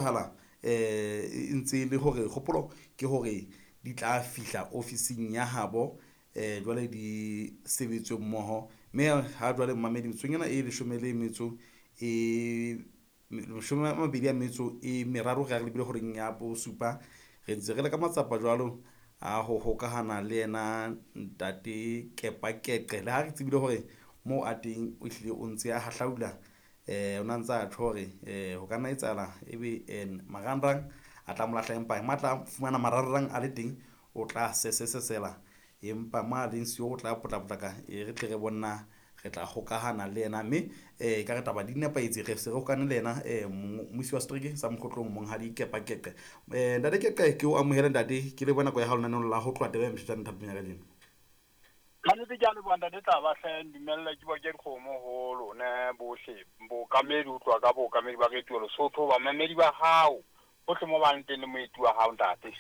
Hala e ntse e le hore kgopolo ke hore di tla fihla ofising ya habo jwale di sebetswe mmoho. Mme ha jwale mmamedi metsotsong ena e leshome le metso e mashome a mabedi a metso e meraro re lebile horeng ya bosupa. Re ntse re le ka matsapa jwalo a ho hokahana le yena ntate Kepa Keqe. Le ha re tsebile hore moo a teng o hlile o ntse a hahlaula, o na ntse a tjho hore ho ka nna etsahala ebe marangrang a tla mo lahla, empa matla fumana marangrang a le teng, o tla sesesela. Empa mo a leng siyo, o tla potla-potlaka e re tle re bona re tla hokahana le yena. Mme ka re taba di nepahetse, re se re hokane le yena mmusi wa setereke sa Mokgotlong, Monghadi Kepa Keqe. Ntate Keqe, ke o amohele ntate, ke leboha nako ya hao lenaneong la ho tloha taba ya motjhetjane thapong ya kajeno. Ka nnete ke a leboha ntate Tlaba hle, ndumelle ke boke dikgomo ho lona bohle, bookamedi ho tloha ka bookamedi ba Radio Lesotho, bamamedi ba hao hohle mo ba leng teng le moeti wa hao ntate.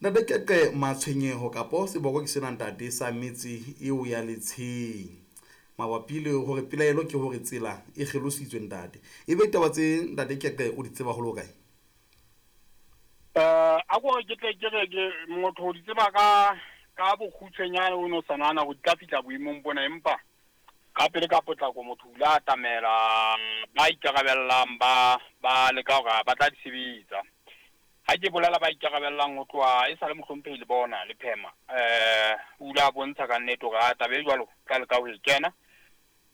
Ntate Keqe, matshwenyeho kapo seboko ke sena ntate sa metse eo ya Letsheng mabapi le hore pelaelo ke hore tsela e kgelositswe ntate. Ebe ditaba tse ntate Keqe o di tseba holo kae? A ko re ke tle ke re ke motho o di tseba ka bokgutshwenyane, o no sa nahana hore di tla fihla boemong bona, empa ka pele ka potlako motho o ile a atamela ba ikarabellang ba leka hore ba tla di sebetsa. Ha ke bolela ba ikarabellang ho tloha e sa le mohlomphehi le bona le phema, o ile a bontsha ka nnete hore a taba e jwalo tla leka ho e kena.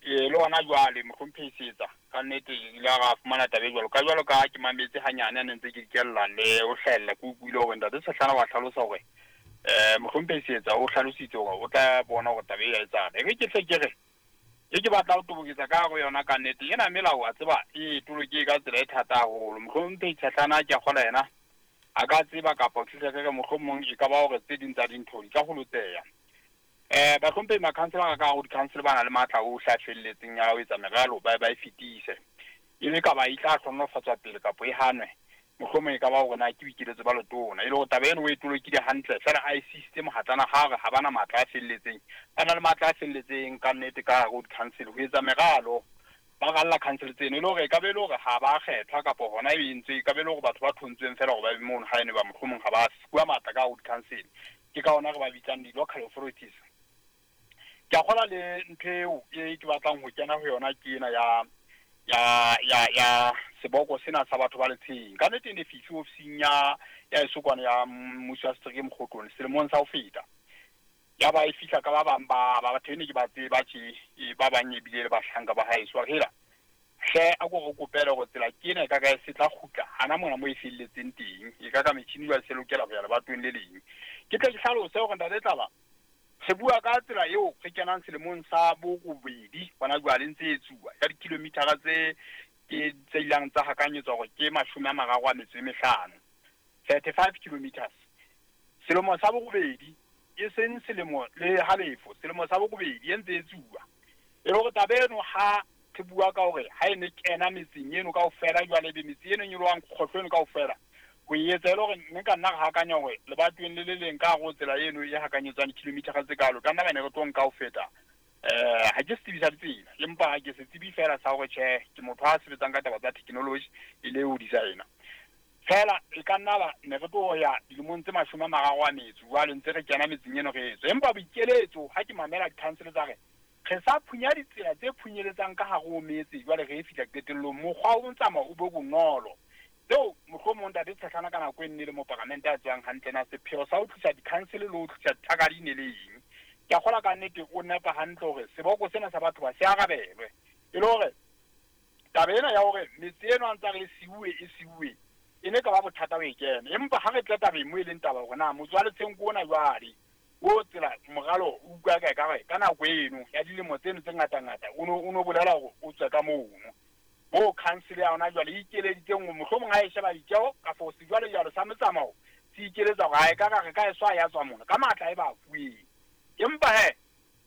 Le hona jwale mohlomphehi Setsa ka nnete ile a ra fumana taba e jwalo. Ka jwalo ka ke mametse hanyane a ne ntse ke dikella le ho hlahella, ke utlwile hore ntate Sehlana wa hlalosa hore mohlomphehi Setsa o hlalositse hore o tla bona hore taba e ya etsahala. E re ke hle ke re e ke batla ho toboketsa ka hare yona ka nnete ena melao a tseba e toloke ka tsela e thata haholo. Mohlomphehi Sehlana ke a kgola yena a ka tseba kapa ke hle ke re mohlomong e ka ba hore tse ding tsa dintho di ka holotseha. Bahlomphehi makhanselara ka hare ho di-council ba na le matla ohle a felletseng ya ho etsa meralo ba e fetise. E le kaba e tla hlohonolofatswa pele kapa e hanwe, mohlomong e ka ba hore na ke boikeletso ba letona. E le hore taba eno o e tolokile hantle, feela a e sisitse mohatlana ha re ha bana matla a felletseng. Ba na le matla a felletseng ka nnete ka hare ho di-council ho etsa meralo. Ba ralla council tseno e le hore e ka be e le hore ha ba kgethwa kapa hona e entswe, e ka be e le hore batho ba thontsweng feela hore ba be mono ha ene ba mohlomong ha ba fuwa matla ka hare ho di-council. Ke ka hona re ba bitsang di-local authorities. Ke a kgolwa le ntho eo e ke batlang ho kena ho yona ke ena ya seboko sena sa batho ba Letsheng. Ka nnete e ne fihle ofising ya Esokwane ya mmuso wa setereke Mokgotlong selemong sa ho feta. Ya ba e fihla ka ba bang ba batho e ne ke ba tseba tje, ba bang ebile le bahlanka ba haeso. Wa re hela, hle a ko re kopele hore tsela ke ena e ka ka e se tla kgutla hana mona mo e felletseng teng. E ka ka metjhini jwale se lokela ho ya lebatoweng le leng. Ke tle ke hlalose hore ntate Tlaba, re bua ka tsela eo re kenang selemong sa borobedi hona jwale ntse e etsuwa ya di-kilometer-a tse ke tse ilang tsa hakanyetswa hore ke mashome a mararo a metso e mehlano, 35 kilometers. Selemo sa borobedi, e seng selemo le halefo, selemo sa borobedi e ntse e etsuwa. E le hore taba eno ha re bua ka hore ha e ne kena metseng eno kaofela jwale ebe metse eno e nyolohang kgohlo eno kaofela, ho e etsa e le hore mme ka nna re hakanya hore lebatoweng le le leng ka hare ho tsela eno e hakanyetswang di-kilometer-a tse kalo, ka nna ba ne re tlo nka ho feta. Ha ke setsebi sa ditsela, empa ha ke setsebi feela sa hore tjhe, ke motho a sebetsang ka taba tsa technology e le ho designer. Feela e ka nna ba ne re tlo ya dilemong tse mashome a mararo a metso jwale ntse re kena metseng eno re etswe. Empa boikeletso ha ke mamela di-council tsa re re sa phunya ditsela tse phunyeletsang ka hare ho metse jwale re e fihla qetellong, mokgwa o tsamao o be bonolo. Tseo mohlomong ntate Tshehlana ka nako e nne le moparamente a tswang hantle na sepheo sa ho tlisa di-council le ho tlisa thakadi ne le eng. Ke a kgolwa ka nnete o nepa hantle hore seboko sena sa batho ba se arabelwe. E le hore taba ena ya hore metse eno a ntse a re e siuwe, e siuwe, e ne ka ba bothata ho e kena. Empa ha re tle tabeng mo e leng taba hore na motse wa Letsheng ke ona jwale, o tsela moralo o utlwa ka ekare ka nako eno ya dilemo tseno tse ngata-ngata o no bolela hore o tswe ka mono. Moo council ya hona jwale e ikeleditseng hore mohlomong ha e sheba ditjeho kapa sejwalejwale sa metsamao se ikeletsa hore ha e ka re ka e swa ya tswa mona ka matla e ba fuweng. Empa he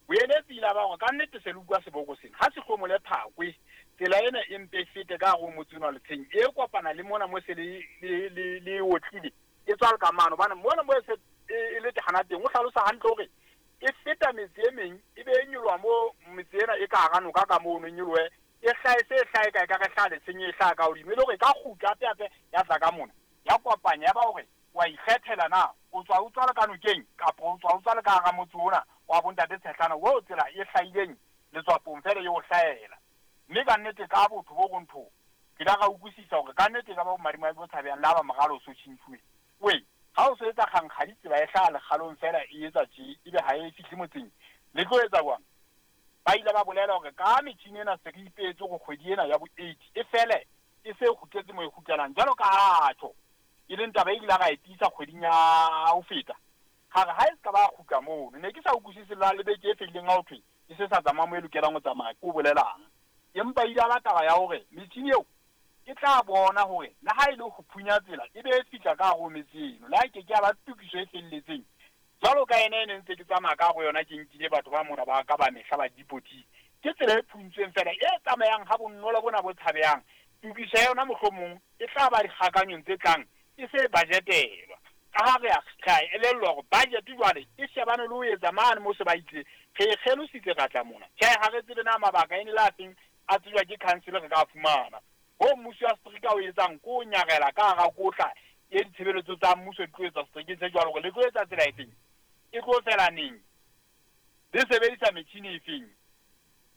boeletsi ile ba hore ka nnete se le utlwa seboko sena ha se hlomole phakwe, tsela ena e mpe e fete ka hare ho motse ona wa Letsheng e kopana le mona mo se le otlile e tswa le ka mano, hobane mona mo e se e le hana teng o hlalosa hantle hore e feta metse e meng e be e nyoloha mo metse ena e ka hara noka ka mono e nyolohe E hlahe se hlahe ka e ka re hlaha letsheng e hlaha ka hodimo, e le hore e ka kgutla hape hape ya tla ka mona, ya kopanya, ya ba hore wa ikgethela na o tswa o tswa le ka nokeng kapa o tswa o tswa le ka hara motse ona wa bontate Tshehlana oo tsela e hlahileng letswapong feela e o hlahela. Mme ka nnete ka botho bo rontho ke la ra utlwisisa hore ka nnete e ka ba bomadimabe bo tshabehang le ha ba moralo o so tjhentjhuwe. Wee, ha o so etsa kgankgadi tsela e hlaha lekgalong feela e etsa tje ebe ha e fihle motseng, le tlo etsa jwang? Ba ile ba bolela hore ka metjhini ena se re ipeetse hore kgwedi ena ya bo eight e fele e se kgutletse moo e kgutlelang jwalo ka ha tjho e leng taba e ile ra e tiisa kgweding ya ho feta. Ra re ha e se ka ba kgutla mono. Ne ke sa utlwisise la le beke e fedileng ha ho thwe e se sa tsamaya moo e lokelang ho tsamaya ke o bolelang. Empa e ile ya ba taba ya hore metjhini eo e tla bona hore le ha e le ho phunya tsela e be e fihla ka hare ho metse eno, le ha e ke ke ya ba tokiso e felletseng jwalo ka ena e ne ntse ke tsamaya ka hare ho yona ke nkile batho ba mona ba ka ba mehla ba dipoti. Ke tsela e phuntsweng feela e tsamayang ha bonolo bona bo tshabehang. Tokiso ya yona mohlomong e tla ba dikgakanyong tse tlang e se e bajetelwa. Ka ha re a re a elellwa hore budget jwale e shebane le ho etsa mane moo se ba itse re e kgelositse ra tla mona. Tjhe, ha re tsebe na mabaka e ne le afeng a tsejwa ke council re ka a fumana. Hoo mmuso wa setereke o etsang ke ho nyarela ka hara kotla e ditshebeletso tsa mmuso di tlo etswa seterekeng se jwalo hore le tlo etsa tsela efeng, e tlo fela neng, le sebedisa metjhini efeng.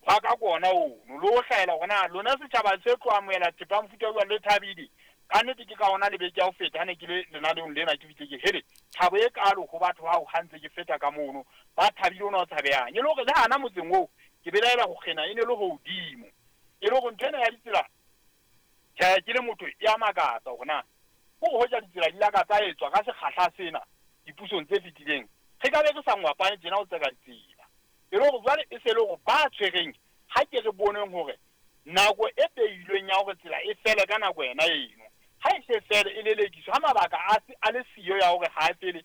Hwa ka ke ona ono le ho hlahela hore na lona setjhaba se tlo amohela thepa ya mofuta o jwang le thabile. Ka nnete ke ka hona le beke ya ho feta ha ne ke le lenaneong lena ke fihle ke hele thabo e kalo ho batho bao ha ntse ke feta ka mono ba thabile ona o tshabehang. E le hore le hana motseng oo ke belaela ho kgena e ne le hodimo. E le hore ntho ena ya ditsela tjhe ke le motho e a makatsa hore na hore hoja ditsela di la ka tsa etswa ka sekgahla sena dipusong tse fetileng re ka be re sa ngwapane tjena ho tseka ditsela. E le hore jwale e se le hore ba tshwereng ha ke re boneng hore nako e beilweng ya hore tsela e fele ka nako yona eno ha e se fele e lelekiswa ha mabaka a se a le siyo ya hore ha e fele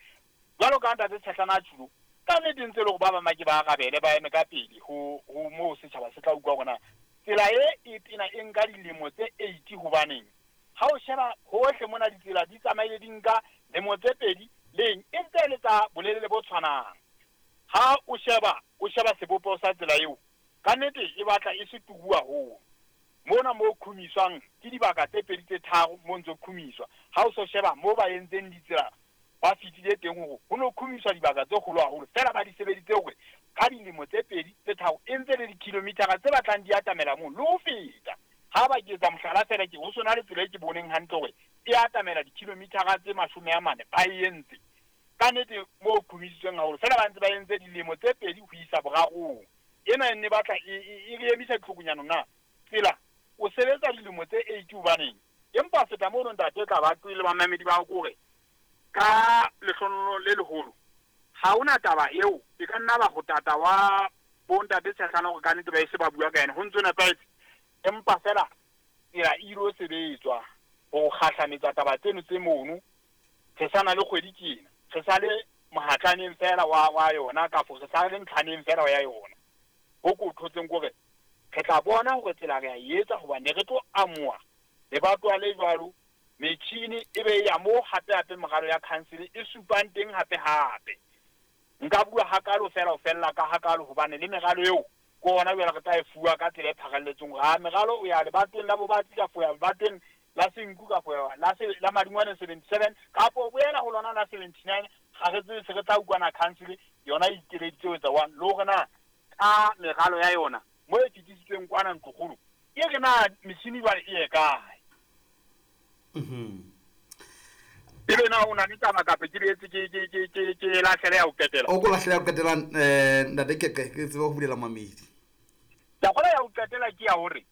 jwalo ka ntate Tshehlana a tjhulo. Ka nnete ntse le hore ba bang ba ke ba arabele ba eme ka pele ho moo setjhaba se tla utlwa hore na tsela e e tena e nka dilemo tse 80 hobaneng. Ha o sheba hohle mona ditsela di tsamaile di nka lemo tse pedi leng e ntse e le tsa bolelele bo tshwanang. Ha o sheba sebopeho sa tsela eo ka nnete e batla e se tubu haholo. Mona mo khumiswang ke dibaka tse pedi tse tharo mo ntso khumiswa. Ha o so sheba mo ba entseng ditsela ba fetile teng hore ho no khumiswa dibaka tse kgolo haholo feela ba di sebeditse hore ka dilemo tse pedi tse tharo e ntse le dikilomitara tse batlang di atamela moo le ho feta. Ha ba ke etsa mohlala feela ke ho sona le tsela e ke boneng hantle hore e atamela dikilomitara tse 40 ba e entse. Ka nnete mo khumisitsweng haholo feela ba ntse ba entse dilemo tse pedi ho isa borarong. Ena e ne batla e re emisa ditlhokonyana na tsela o sebetsa dilemo tse 8 hobaneng. Empa feta mono ntate tla ba tlile ba mamedi ba hore ka lehlono le leholo ha ona taba eo e ka nna ba ho tata wa bontate Tshehlana hore ka nnete ba ese ba bua ka yena ho ntse nepahetse. Empa fela tsela e ilo sebetswa ho kgahlametsa taba tseno tse mono re sana le kgwedi tjena re sa le mohatlaneng fela wa yona kafo re sa le ntlhaneng fela ya yona. Ho ko thotseng hore re tla bona hore tsela re a etsa hobane re tlo amoha lebatwa le jwalo metjhini e be ya mo hape hape moralo ya council e supang teng hape hape. Nka bua hakalo fela ho fella ka hakalo hobane le meralo eo ke ona jwale re tla e fuwa ka tsela e pharalletseng hore ha meralo o ya lebatweng la Bobatsi ka foya lebatweng la Senku ka foya la Madingwane 77 kapo boela ho lona la 79 ga re tsebe se re tla utlwana council yona e ikeleditse ho etsa one le hore na ka meralo ya yona mo e fetisitsweng kwana ntlokgolo e re na metjhini jwale e ye kae. Ebe na o na le taba kapa ke etse ke lahlele ya ho qetela. O ko lahlele ya ho qetela ntate Keqe ke tsebe ho bulela mamedi. Taba ya ho qetela ke ya hore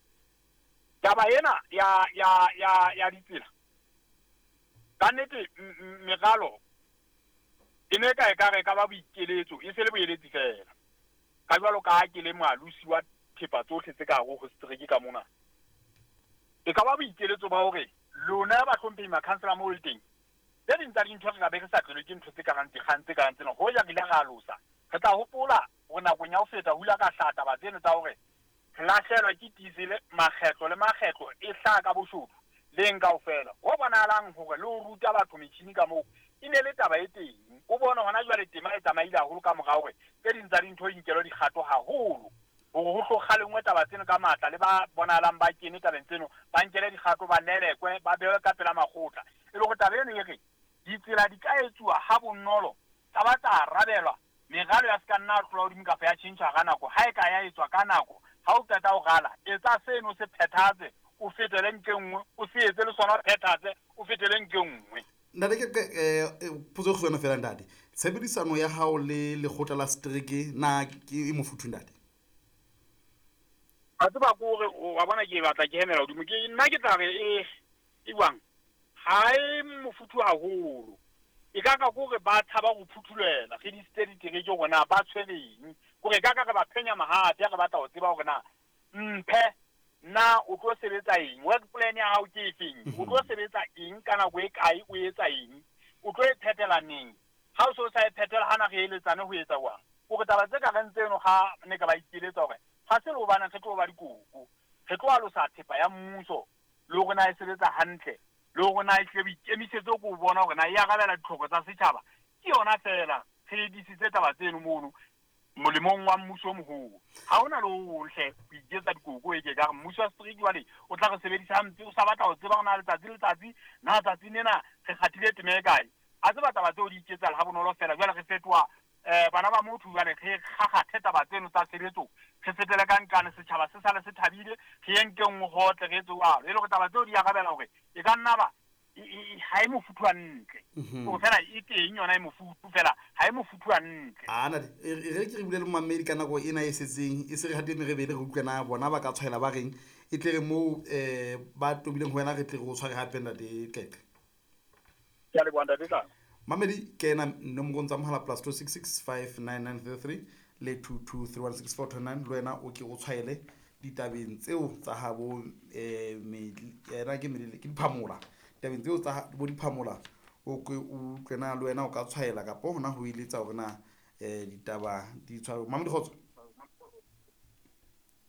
taba ena ya ditsela ka nnete meralo e ne ka e ka re ka ba boikeletso e se le boeletsi fela. Ka jwalo ka ha ke le moalosi wa thepa tsohle tse ka hare ho setereke ka mona. E ka ba boikeletso ba hore lona ba hlomphehi makhansela moo le teng tse ding tsa dintho re ka be re sa tlelwe ke ntho tse karang dikgang tse karang tsena hoja re ile ra alosa. Re tla hopola hore nakong ya ho feta ho ile ka hlaha taba tseno tsa hore re lahlehelwa ke diesel makgetlo le makgetlo e hlaha ka boshodu leng kaofela. Ho bonahalang hore le ho ruta batho metjhini ka moo e ne le taba e teng. O bone hona jwale tema e tsamaile haholo ka mora hore tse ding tsa dintho di nkelwe dikgato haholo. Hore ho tlo kgalengwe taba tseno ka matla le ba bonahalang ba kene tabeng tseno, ba nkele dikgato, ba lelekwe, ba behwe ka pela makgotla. E le hore taba eno e re ditsela di ka etsuwa ha bonolo, tsa ba tsa arabelwa, meralo ya se ka nna ya tlola hodimo kapa ya tjhentjhwa hara nako. Ha e ka ya etswa ka nako, ha o qeta ho rala, etsa seno o se phethahatse, o fetele nqe nngwe, o se etse le sona o phethahatse, o fetele nqe nngwe. Ntate ke potso e kgutshwane fela ntate. Tshebedisano ya hao le lekgotla la setereke na ke e mofuthu ntate? Wa tseba ke hore wa bona ke batla ke hemela hodimo. Ke nna ke tla re e e jwang? Ha e mofuthu haholo. E ka ka ke hore ba tshaba ho phuthulela re disitse ditereke hore na ba tshwereng. Ke hore e ka ka re ba phenya mahate ha re batla ho tseba hore na mphe na o tlo sebetsa eng, work plan ya hao ke efeng, o tlo sebetsa eng ka nako e kae, o etsa eng, o tlo e phethela neng. Ha o se o sa e phethela hana re eletsane ho etsa jwang. Hore taba tse ka reng tseno ha ne ka ba ikeletsa hore ha se le hobaneng re tlo ba dikoko, re tlo alosa thepa ya mmuso le hore na e sebetsa hantle, le hore na ehlile boikemisetso ke ho bona hore na e arabela ditlhoko tsa setjhaba. Ke yona feela re disitse taba tseno mono molemong wa mmuso o moholo. Ha hona le ho hong hle ho iketsa dikoko e ke ka re mmuso wa setereke jwale o tla re sebedisa hampe, o sa batla ho tseba hore na letsatsi le letsatsi na tsatsing lena re kgathile teme e kae. A tseba taba tseo di iketsahale ha bonolo feela. Jwale re fetoha bana ba motho, jwale re kgakgathe taba tseno tsa tshebetso, re fetele ka nqane, setjhaba se sale se thabile, re ye nkeng nngwe hotle, re etse jwalo. E le hore taba tseo di arabela hore e ka nna ba ha e mofuthu hantle. Hore fela e teng yona e mofuthu fela ha e mofuthu hantle. A ntate, e re ke re bule le momamedi ka nako ena e setseng, e se re hate merebele re utlwe na bona ba ka tshwaela ba reng, e tle re moo ba tobileng ho wena re tle re o tshware hape ntate Qeqe. Ke a leboha ntate Tlala. Mamedi ke ena nomorong tsa mohala plus 266 59933 le 22316429, le wena o ke o tshwaele ditabeng tseo tsa habo yena ke Medile, ke Diphamola. Ditabeng tseo tsa bo Diphamola o ke o utlwe na le wena o ka tshwaela kapa hona ho eletsa hore na ditaba di tshware. Mamedi kgotso.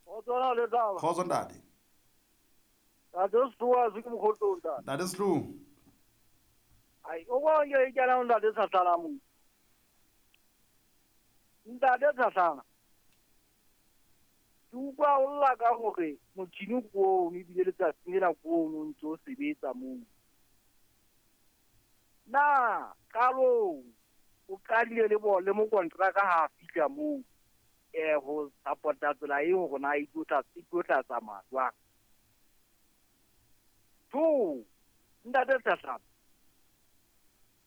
Kgotso na le taba. Kgotso ntate. Ntate Sehloa se ke mokgotso ntate. Ntate Sehloa. Ai, o bona ke kena ntate Tlhatlhana mo. Ntate Tlhatlhana. Ke utlwa o lla ka hore motjhini ke ono ebile letsatsi lena ke ono o ntse o sebetsa moo. Na qalong o qadile le bo le mokontraka ha a fihla moo ho support-a tsela eo hore na e tlo tla tsamaya jwang. Two, ntate Tlhatlhana,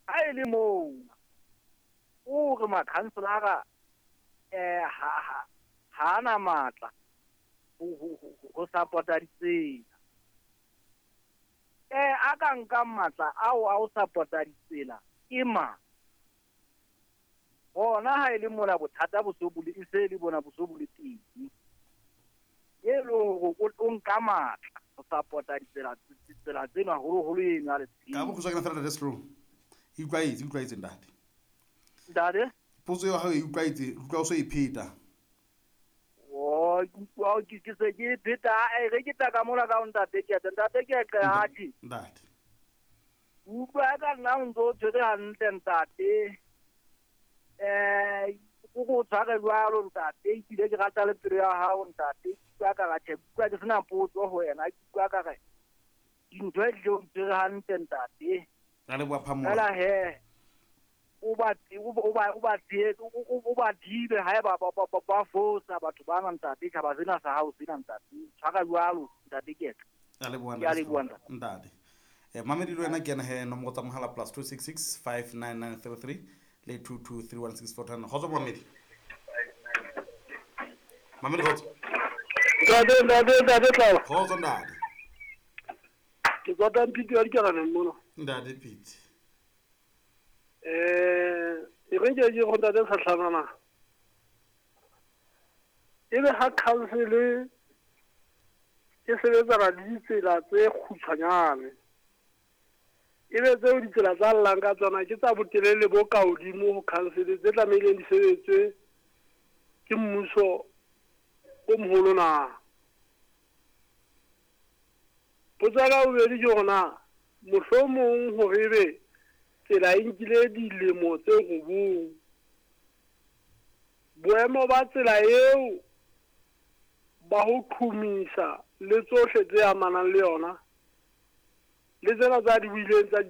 ha e le moo o re makhanselara ha a na matla ho support-a ditsela. A ka nkang matla ao a ho support-a ditsela ke mang? Hona ha e le mona bothata bo so bo le, e se le bona bo so bo le teng. E le hore o nka matla ho support-a ditsela tsena haholoholo eno ya Letsheng. Ka bokgutshwane fela ntate Sehloa. E utlwaetse, e utlwaetse ntate. Ntate? Potso ya hao e utlwaetse, utlwa o so e pheta. Oh, ke utlwa ke se ke e pheta, re ke tla ka mona ka ho ntate Keqe, ntate Keqe atjhe. Ntate. Utlwa ka nna o ntso o tshwere hantle ntate. O go tshware jwalo ntate, ebile ke rata le pelo ya hao ntate. Ke utlwa ka re tjhe, ke utlwa ke sena potso ho wena, ke utlwa ka re dintho e tlile o tshwere hantle ntate. Ra leboha Phamola. Fela he, o ba o ba o ba tsheetse, o ba thibe haeba ba fosa batho bana ntate, tjhaba sena sa hao sena ntate. Tshwara jwalo ntate Keqe. Ra leboha Ke a ntate leboha Sehloa. ntate. Ntate. Mamedi le wena ke ena he nomoro tsa mohala plus 266 59933 le 22316429. Kgotso mamedi. Mamedi kgotso. Ntate, ntate, ntate Tlala. Kgotso ntate. Ke tswa Tampiti ya Dikalaneng mona. Ntate Pete. E re ke go ntate Tlhatlhana na. E be ha council e sebetsana le ditsela tse kgutshwanyane. E be tseo ditsela tsa llang ka tsona ke tsa botelele bo ka hodimo ho council tse tlamehileng di sebetswe ke mmuso o moholo na. Potso ya ka bobedi ke hore na mohlomong hore ebe tsela e nkile dilemo tse 9, boemo ba tsela eo ba ho qhomisa le tsohle tse amanang le yona, le tsena tsa di buileng tsa.